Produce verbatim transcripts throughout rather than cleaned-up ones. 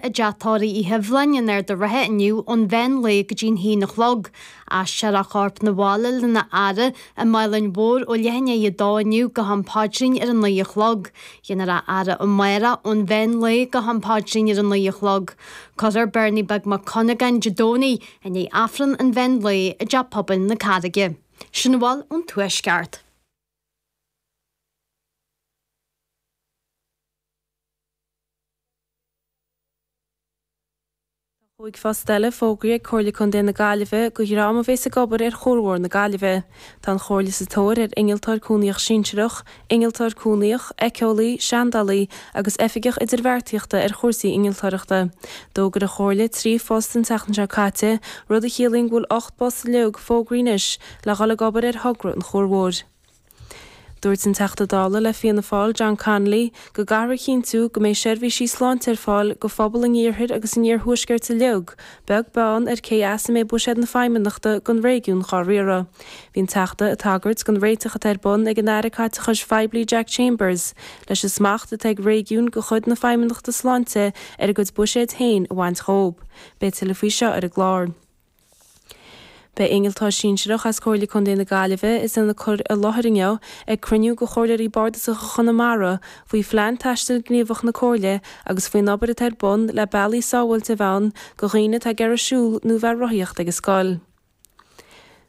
I dTeach Tórraimh Uí Hiubhláin in Ard an Rátha inniu ón mheán lae go dtí'n haon a chlog. Aistreofar a chorp 'na bhaile lena fhaire i mBaile an Mhóir ó leath i ndiaidh a dó inniu go ham paidrín ar a naoi a chlog. Déanfar a fhaire amárach ón mheán lae go ham paidrín ar a naoi a chlog. Cuirfear Bernie Beag Mac Cuinneagáin Dé Domhnaigh i ndiaidh Aifreann an mheán lae i dTeach Pobail na Carraige. Sin a bhfuil ón Tuaisceart. Tá cúig phost eile fógraithe ag Comhairle Contae na Gaillimhe do dhream a bheas ag obair ar Chuar Mhór na Gaillimhe. Tá an Chomhairle sa tóir ar Innealtóir Cúnaíoch Sinsearach, Innealtóir Cúnaíoch, Éiceolaí, Seandálaí agus Oifigeach Idirbheartaíochta ar chúrsaí innealtóireachta. D'fhógair an Chomhairle trí phost an tseachtain seo caite, rud a chiallaíonn go bhfuil ocht bpost uilig fógraithe anois le dhul ag obair ar thogra an Chuair Mhóir. Dúirt an Teachta Dála le Fianna Fáil John Connolly go gcaithfear a chinntiú go mbeidh seirbhísí sláinte ar fáil do phobal an iarthair agus an iarthuaiscirt uilig, beag beann ar cé as a mbeidh buiséad na Feidhmeannachta don réigiún dhá riaradh. Bhí an Teachta ag tagairt don réiteach atá ar bun ag an Aire Caiteachais Phoiblí Jack Chambers leis an smacht atá ag réigiúin de chuid na Feidhmeannachta Sláinte ar a gcuid buiséid féin a bhaint dhóibh. Beidh tuilleadh faoi seo ar an gclár. Beidh innealtóir sinsearach as Comhairle Contae na Gaillimhe is ina cur i láthair inniu ag cruinniú de Chomhairleoirí Bardasacha Chonamara faoi Phlean Taistil Gníomhach na Comhairle agus faoin obair atá ar bun le bealaí sábháilte a bheith ann do dhaoine atá ag iarraidh siúl nó bheith ag rothaíocht ag an scoil.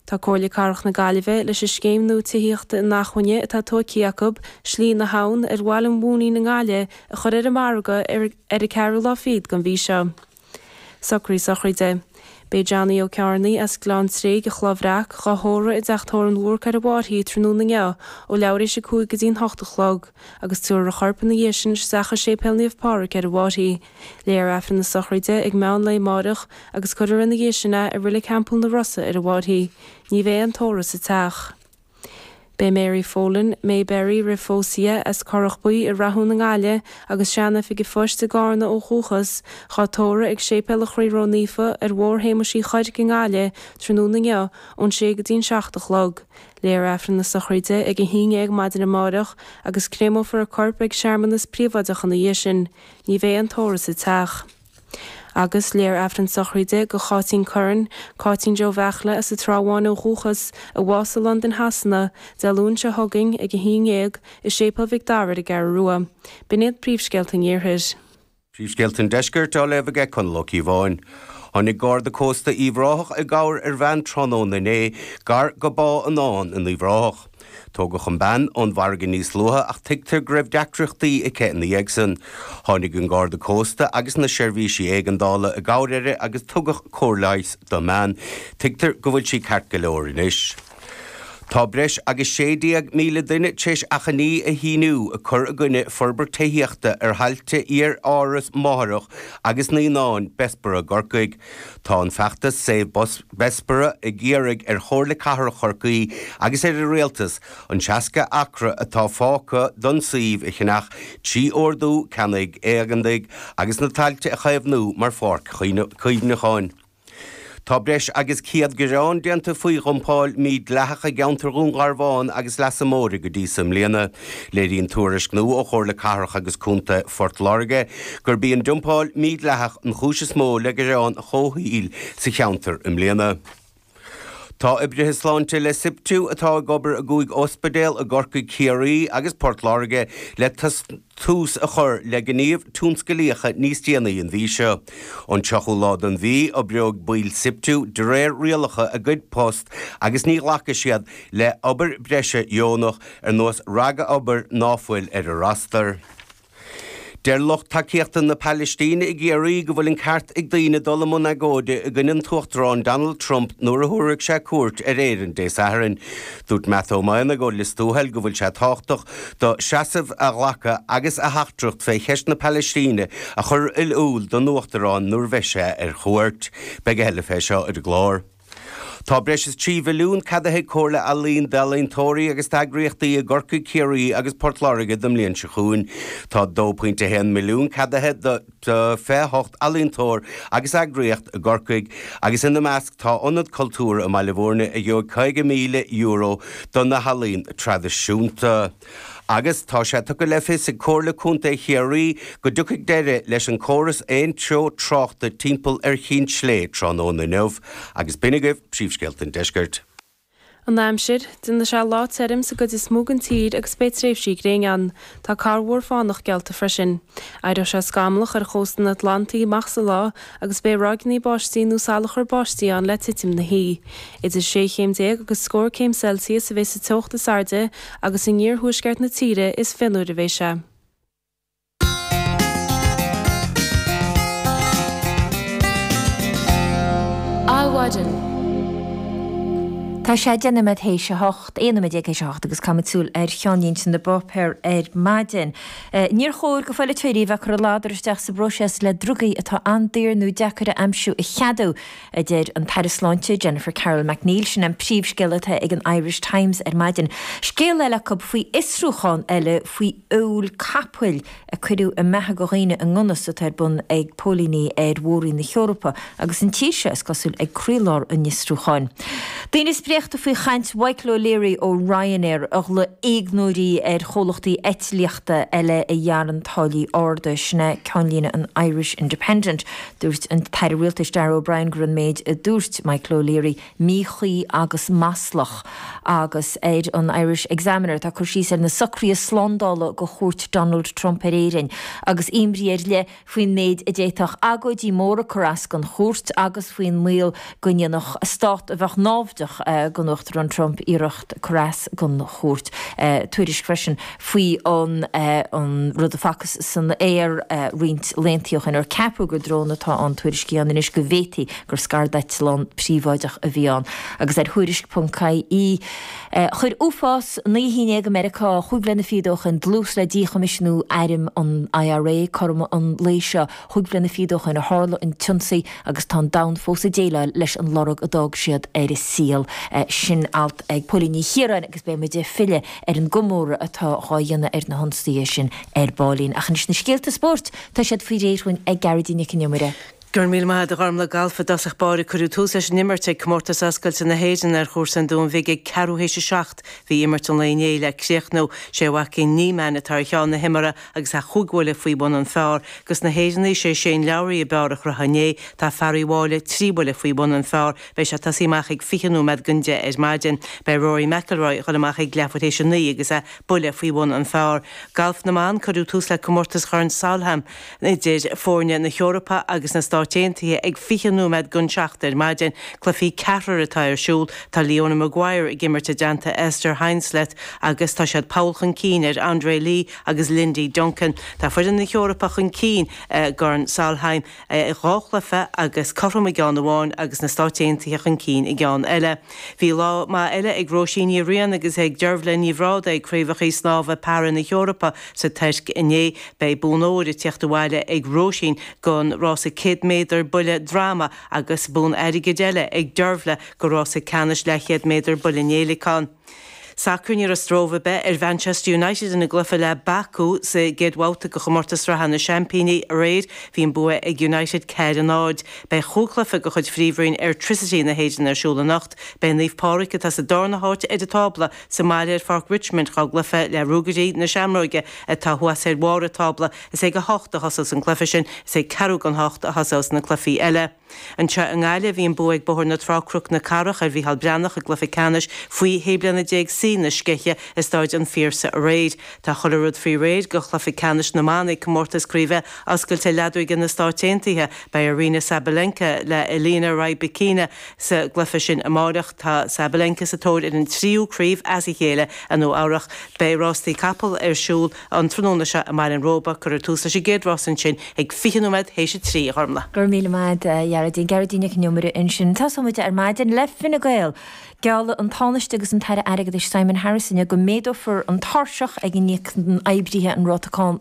Tá Comhairle Cathrach na Gaillimhe leis an scéim nua tithíochta inacmhainne atá tógtha acu, Slí na hAbhann, ar Bhaile an Mhóinín i nGaillimh, a chur ar an margadh ar an ceathrú lá fichead den mhí seo. Socruithe sochraide. Beidh Johnny Ó Cearnaigh as Gleann Tréig a Chloich Bhreac dhá thórramh i dTeach Tórraimh an Bhúrc ar an bhFairche tráthnóna inniu ó leathuair tar éis a cúig go dtí'n hocht a chlog agus tabharfar a chorp ina dhiaidh sin isteach i Séipéal Naomh Pádraig ar an bhFairche. Léifear Aifreann na sochraide ag meán lae amáireach agus cuirfear ina dhiaidh sin é i Reilig Theampall na Rosa ar an bhFairche. Ní bheidh aon tórramh sa teach. Beidh Mary Folan, Mayberry roimh phósadh di, as Corrach Buí i Rathún i nGaillimh agus sean-oifig an phoist i gCarna ó dhúchas, dhá tórramh ag Séipéal an Chroí Ró-Naofa ar Bhóthar Shéamuis Uí Chuirc i nGaillimh tráthnóna inniu ón sé go dtí'n seacht a chlog. Léifear Aifreann na sochraide ag a haon dhéag maidin amáireach agus créamófar a corp ag searmanas príobháideach ina dhiaidh sin. Ní bheidh aon tórramh sa teach. Agus léifear Aifreann sochraide do Cháitín Curran, Cáitín Joe Bheachla as an Trá Bháin ó dhúchas, a bhásaigh i Londain Shasana, Dé Luain seo chugainn ag a haon dhéag, i Séipéal Mhic Dara ar an gCeathrú Rua. B'in iad príomhscéalta an Iarthair. Príomhscéalta an Deiscirt á léamh aige Conall Ó Cíobháin. Tháinig Garda Cósta Uíbh Ráthach i gcabhair ar bhean tráthnóna inné gar go Bá an Fháin in Uíbh Ráthach. Tógadh an bean ón bhfarraige níos luaithe ach tuigtear go raibh deacrachtaí aici ina dhiaidh san. Tháinig an Garda Cósta agus na seirbhísí éigeandála i gcabhair uirthi agus tugadh cóir leighis don mbean. Tuigtear go bhfuil sí ceart go leor anois. Tá breis agus sé déag míle duine tar éis achainí a shíniú ag cur i gcoinne forbairt tithíochta ar thailte iar-áras máithreach agus naíonáin Bessborough i gCorcaigh. Tá an feachtas Save Bessborough ag iarraidh ar Chomhairle Cathrach Chorcaí agus ar an Rialtas an seasca acra atá fágtha don suíomh a cheannach trí ordú ceannaigh éigeantaigh agus na tailte a chaomhnú mar pháirc chuimhneacháin. Tá breis agus céad gearán déanta faoi dhumpáil mhídhleathach i gceantar Dhún Garbhán agus Leasa Móire go dtí so i mbliana. Léiríonn tuairisc nua ó Chomhairle Cathrach agus Contae Phort Láirge gurb í an dumpáil mhídhleathach an chúis is mó le gearáin chomhshaoil sa cheantar i mbliana. Tá oibrithe sláinte le Siptu atá ag obair i gcúig ospidéal i gCorcaigh, Ciarraí agus Port Láirge le tús a chur le gníomh tionsclaíocha níos déanaí an mhí seo. Ón tríochú lá den mhí, oibreoidh baill Siptu de réir rialacha a gcuid post agus ní ghlacfaidh siad le obair bhreise dheonach ar nós ragobair ná fuil ar a rostar. Deir lucht tacaíochta na Palaistíne i gCiarraí go bhfuil an ceart ag daoine dul i mbun agóide i gcoinne an tUachtarán Donald Trump nuair a thabharfaidh sé cuairt ar Éirinn Dé Sathairn. Dúirt Matt Ó Maonaigh ó Lios Tuathail go bhfuil sé tábhachtach do seasamh a ghlacadh agus a theachtaireacht fé cheist na Palaistíne a chur in iúl don Uachtarán nuair a bheidh sé ar chuairt. Beidh a thuilleadh fé seo ar an gclár. Tá breis is trí mhilliún ceadaithe ag Comhairle Ealaíon d'ealaíontóirí agus d'eagraíochtaí i gCorcaigh, Ciarraí agus Port Láirge don mbliain seo chugainn. Tá dó pointe a haon milliún ceadaithe do fiche a hocht ealaíontóir agus eagraíocht i gCorcaigh agus ina measc tá Ionad Cultúrtha i mBaile Bhúirne a gheobhaidh caoga míle euro do na healaíon traidisiúnta. Agus tá sé tugtha le fios ag Comhairle Contae Chiarraí go dtiocfaidh deireadh leis an córas aon treo tráchta timpeall ar Chinn Slé tráthnóna inniu. Agus b'in agaibh príomhscéalta an deiscirt. An aimsir, déanfaidh sé lá tirim sa gcuid is mó den tír agus beidh tréimhsí gréine ann. Tá corrmhúr fánach geallta freisin. Éireoidh sé scamallach ar chósta an Atlantaigh amach sa lá agus beidh ráigeanna báistí nó salachar báistí ann le titim na hoíche. Idir sé chéim déag agus scór céim Celsius a bheidh sa teocht is airde agus in iarthuaisceart na tíre is fionnuaire a bheidh sé. Adhmhaidin. Tá sé deich nóiméad théis a hocht, aon nóiméad déag théis a hocht agus caithfimid súil ar cheannlínte na bpáipéar ar maidin. Níor chóir go pholaiteoirí bheith ag cur a ladar isteach sa bpróiseas le drugaí atá an-daor nó deacair a aimsiú a cheadú, a deir an tAire Sláinte Jennifer Carroll MacNeill. Sin an príomhscéal atá ag an Irish Times ar maidin. Scéal eile acu faoi fhiosrúchán eile faoi fheoil capaill a cuireadh i mbeatha go dhaoine i ndonas atá ar bun ag póilíní ar Mhór-Roinn na hEorpa agus an tír seo, is cosúil, ag croílár an fhiosrúcháin. Daoine spréachta faoi chaint Mhichael O'Leary ó Ryanair a ghlaoigh éagnairigh ar chomhlachtaí eitlíochta eile a ghearrann táillí arda. Sin é ceannlíne an Irish Independent. Dúirt an tAire Rialtais Darragh O'Brien go raibh an méid a dúirt Michael O'Leary míchuí agus maslach. Agus ar an Irish Examiner tá cur síos ar na socruithe slándála go chuairt Donald Trump ar Éirinn agus imní ar leith faoin méid a d'fhéadfadh agóidí móra cur as don chuairt agus faoin mbaol go ndéanfadh stát a bheadh náimhdeach don Uachtarán Trump iarracht cur as don chuairt. Tuairisc freisin faoi an an rud a facthas san aer roinnt laethanta ó shin ar ceapadh gur drón atá ann tuairiscí ann anois go bhféadfaí gur scairdeitleán príobháideach a bhí ann. Agus ar Thuairisc ponc ie chuir uafás naoi a haon déag i Meiriceá chúig bliana fichead ó shin dlús le díchoimisiúnú airm an IRA cothrom an lae seo chúig bliana fichead ó shin a tharla an t-ionsaí agus tá an domhan fós ag déileáil leis an lorg a d'fhág siad ar a saol. Sin alt ag Póilín Ní Chiaráin agus beidh muid ag filleadh ar an gcomóradh atá dhá dhéanamh ar na hionsaithe sin ar baillín. Ach anois na scéalta spóirt, tá siad faoi réir dhúinn ag Gearóidín Nic an Iomaire. Go raibh míle maith agat a Ghormlaith. Galf i dtosach báire Cuireadh tús leis an imirt ag Comórtas Oscailte na hÉireann ar chúrsa an Dúin Bhig ag ceathrú théis a seacht. Bhí imirt an lae inné le críochnú. Sé Joaquin Niemann atá ar cheann na himeartha agus é chúig bhuille faoi bhun an phar. Dos na hÉireannaigh sé Shane Lowry ab fhearr a chruthaigh inné. Tá fear Uíbh Fhailí trí bhuille faoi bhun an phar. Beidh sé ag tosaí amach ag fiche nóiméad don deich ar maidin. Beidh Rory McIlroy ag dul amach ag leathuair théis a naoi agus é buille faoi bhun an phar. Galf na mBan Cuireadh tús le Comórtas Chorn Solheim idir foirne na hEorpa agus na Stáit Aontaithe ag fiche nóiméad don seacht ar maidin. Cluichí ceathrair atá ar siúl. Tá Leona Maguire ag imirt i dteannta Esther Henseleit agus tá siad poll chun cinn ar Andre Lee agus Lindy Duncan. Tá foireann na hEorpa chun cinn i gCorn Solheim i dhá chluiche agus cothrom i gceann amháin agus na Stáit Aontaithe chun cinn i gceann eile. Bhí lá maith eile ag Róisín Ní Riain agus ag Deirbhile Ní Bhrádaigh ag Craobhacha Snámha Para na hEorpa sa Tuirc inné. Beidh bonn óir ag teacht abhaile ag Róisín don rása céad méadar buille droma agus bonn airgid eile ag Deirbhile do rása ceannais leathchéad méadar buille néileacáin. Sacar Ní raibh stró ar bith ar Mhanchester United ina gcluiche le Baku sa gcéad bhabhta de chomórtas sraithe na Seaimpíní aréir. Bhí an bua ag United ceathair a náid. Beidh chúig chluiche de chuid Phríomhroinn Airtricity na hÉireann ar siúl anocht. Beidh Naomh Pádraig, atá sa darna háit ar an tábla, sa mbaile ar Pháirc Richmond dhá gcluiche le Ruagairí na Seamróige atá thuas ar bharr an tábla. Is ag a hocht a thosós an cluiche sin. Is ag ceathrú don hocht a thosós na cluichí eile. Anseo i nGaillimh, bhí an bua ag Bóthar na Trá-Cnoc na Cathrach ar Mhícheál Breathnach i gcluiche ceannais faoi shé bliana déag C na Sceiche i Stáid an Phiarsaigh aréir. Tá chuile rud faoi réir do chluiche ceannais na mban ag Comórtas Craoibhe Oscailte Leadóige na Stáit Aontaithe. Beidh Aryna Sabalenka le Elena Rybakina sa gcluiche sin amáireach. Tá Sabalenka sa tóir ar an tríú craobh as a chéile i Nua Eabhrach. Beidh rástaí capall ar siúl an tráthnóna seo i mBaile an Róba. Cuirfear tús leis an gcéad rás ansin ag fiche nóiméad théis a trí, a Ghormlaith. Go raibh míle maith agat, a Ghearóidín. Gearóidín Nic an Iomaire ansin. Tosóidh muid ar maidin le Fine Gael. Geallfaidh an Tánaiste agus an tAire Airgeadais Simon Harris inniu go méadófar an tairseach ag a n-íocann oibrithe an ráta cáin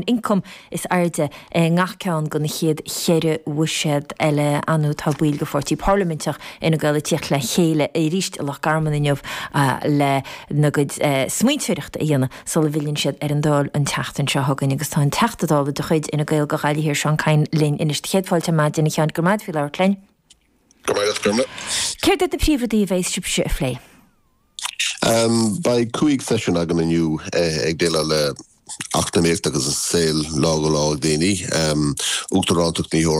ioncaim is airde i ngach ceann de na chéad cheithre bhuiséad eile. Anu tá baill de pháirtí parlaiminteach Fhine Gael ag tíocht le chéile arís i Loch Garman inniu lena gcuid smaointeoireachta a dhéanamh sula bhfilleann siad ar an Dáil an tseachtain seo chugainn. Agus tá an Teachta Dála de chuid Fhine Gael do Ghaillimh Thiar, Seán Kyne, linn anois. Céad fáilte ar maidin, a Sheáin. Go raibh maith agat faoi labhairt linn. Go raibh maith agat, Gormlaith. Céard iad na príomhrudaí a bheidh sibhse a phlé? Um, Beidh cúig seisiún againn inniu eh, ag déileáil le eacnamaíocht agus an saol lá go lá daoine um, Uachtarántacht na